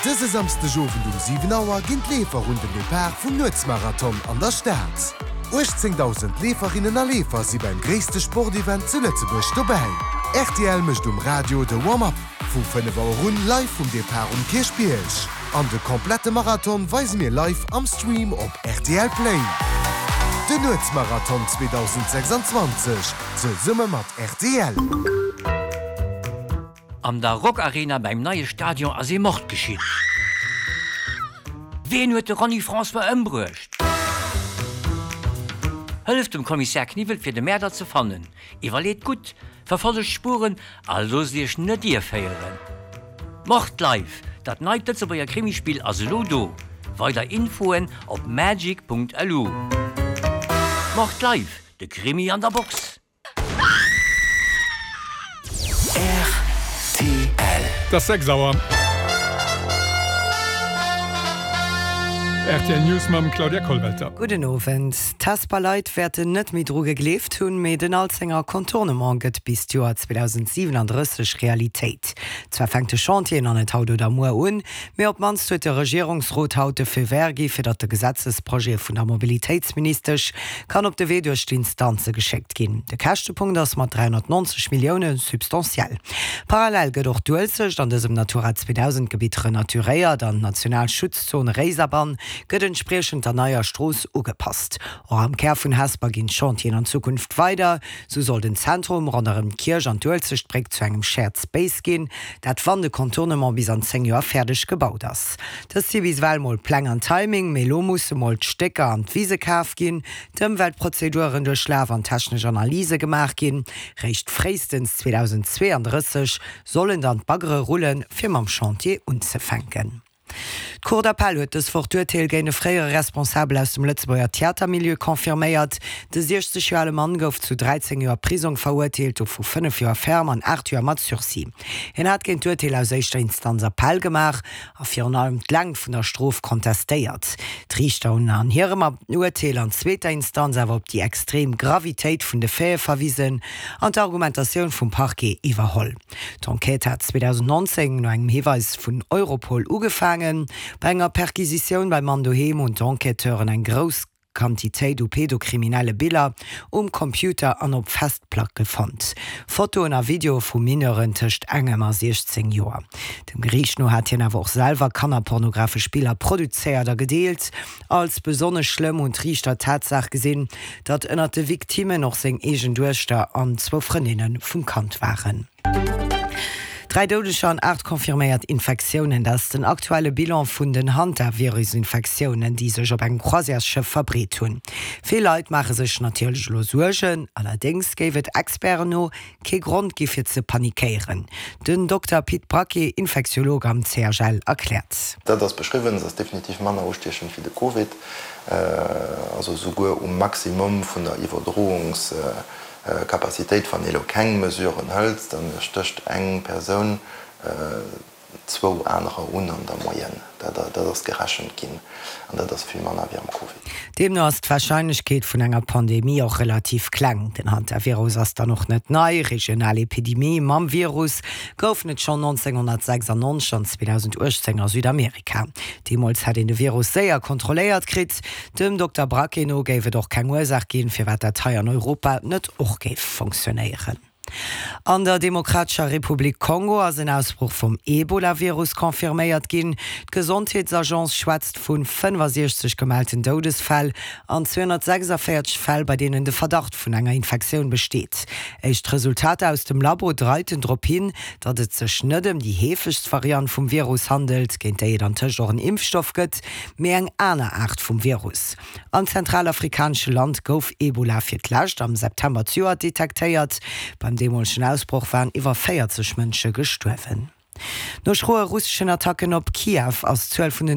Dëse Samsdeg Owend um 7 Auer ginn d'Leefer un den Depart vum Nuetsmarathon an der Stad. 18.000 Leeferinnen a Leefer si beim gréisste Sportevent zu Lëtzebuerg dobäi. Rtl mécht um Radio de Warm-up vu 5 Auer un live vum Depart um Kierchbierg. An de komplette Marathon weise mir live am Stream op rtl Play. Den Nuetsmarathon 2026 zesumme mat rtl. An der Rockarena beim neie Stadion ass ee Mord geschitt. Ween huet de Ronny François ëmbruecht? Hëlleft dem Kommissär Kniwwel fir de Mäerder ze fannen. Iwwerleet gutt, verfollegt d'Spuren a loosst iech net ierféieren. Mord Live, dat neit Lëtzebuerger Krimispill ass elo do. Weider Infoen op magic.lu. Mord Live, de Krimi an der Box. Rtl. Et ass 6 Auer. Rtl News mam Claudia Kollwelter. Gudden Owend. D'Hesper Leit wäerten net méi dru gegleeft hunn, mee den Alzenger Contournement gëtt bis d'Joer 2037 Realitéit. Zwar fänkt de Chantier nach net haut oder muer un, mee op d'mannst huet de Regierungsrot haut de Feu vert gi fir datt de Gesetzesprojet vun der Mobilitéitsministesch kann op de Wee duerch d'Instanze geschéckt ginn. De Käschtepunkt ass mat 390 Millioune substantiell. Parallel gëtt och d'Uelzecht an dësem Natura 2000 Gebitt renaturéiert an d'national Schutzzon Réiserbann gëtt entspriechend der neier Strooss ugepasst. Och am Kär vun Hesper ginn d'Chantieren an Zukunft weider. Sou soll den Zentrum ronderëm d'Kierch an d'Uelzechtbréck zu engem Shared Space ginn, dat wann de Contournement bis an 10 Joer fäerdeg gebaut ass. Dëst si bis ewell mol Pläng an Timing, mee elo musse mol d'Stécker an d'Wise kaf ginn, d'Ëmweltprozeduren duerchlaf an technesch Analyse gemaach ginn. Réischt fréistens 2032 sollen dann d'Baggere rullen, fir mam Chantier unzefänken. D'Cour d'appel huet dës Woch d'Urteel géint e fréiere Responsabel aus dem Lëtzebuerger Theatermilieu confirméiert. De 60 Joer ale Mann gouf zu 13 Joer Prisong verurteelt, dovu 5 Joer ferme an 8 Joer mat Sursis. Hien hat géint d'Urteel aus éischter Instanz Appell gemaach a virun allem d'Längt vun der Strof kontestéiert. D'Riichter hunn an hirem Urteel an zweeter Instanz awer op déi extrem Gravitéit vun de Faite verwisen an d'Argumentatioun vum Parquet iwwerholl. D'Enquête hat 2019 no engem Hiweis vun Europol ugefaangen. Bei enger Perquisitioun beim Mann doheem hunn d'Enquêteuren eng grouss Quantitéit u pedokriminelle Biller um Computer an op Festplacke fonnt. Fotoen a Videoe vu Mineuren tëscht engem a 16 Joer. Dem Geriicht no hat hien awer och selwer kannerpornografesch Biller produzéiert a gedeelt. Als besonnesch schlëmm hunn d'Riichter d'Tatsaach gesinn, datt ënnert de Victimmen och seng eegen Duechter an zwou Frëndinne vum Kand waren. 3 Doudeger an 8 confirméiert Infektiounen, dat ass den aktuelle Bilan vun den Hantavirus-Infektiounen, déi sech op engem Croisièresschëff verbreet hunn. Vill Leit maache sech natierlech elo Suergen, allerdéngs géif et Experten no kee Grond gi fir ze panikéieren. Den Dokter Pit Braquet, Infektiolog am CHL, erkläert. Dat ass beschriwwen, se ass definitiv manner ustiechend wéi de Covid, also souguer um Maximum vun der Iwwerdroungs Capacitéit, wann ee lo keng Mesuren hëlt, da stécht eng Persoun zwou anerer un an der Moyenne. Dat ass gerechent ginn an dat ass vill manner wéi am Covid. Deemno ass d'Warscheinlechkeet vun enger Pandemie och relativ kleng. Den Hantavirus ass dann och net nei. Regional Epidemie mam Virus goufen et schonn 1996 an 2018 a Südamerika. Deemools hätt een de Virus séier kontrolléiert kritt. Dem Dokter Braquet no géif et och keng Ursaach ginn, firwat dat hei an Europa net och géif fonctionnéieren. An der Demokratescher Republik Kongo ass en Ausbroch vum Ebola-Virus confirméiert ginn. D'Gesondheetsagence schwätzt vu 65 gemellten Doudesfäll an 246 Fäll, bei deenen de Verdacht vun enger Infektioun besteet. Éischt Resultater aus dem Labo deiten drop hin, datt et sech net ëm déi heefegst Variant vum Virus handelt, géint déi et antëscht och en Impfstoff gëtt, mee eng aner Aart vum Virus. Am zentralafrikanesche Land gouf Ebola fir d'lescht am September zejoert detektéiert. Beim deemolegen Ausbroch waren iwwer 40 Mënsche gestuerwen. No schroe russeschen Attacken op Kiew ass d'Zuel vun den.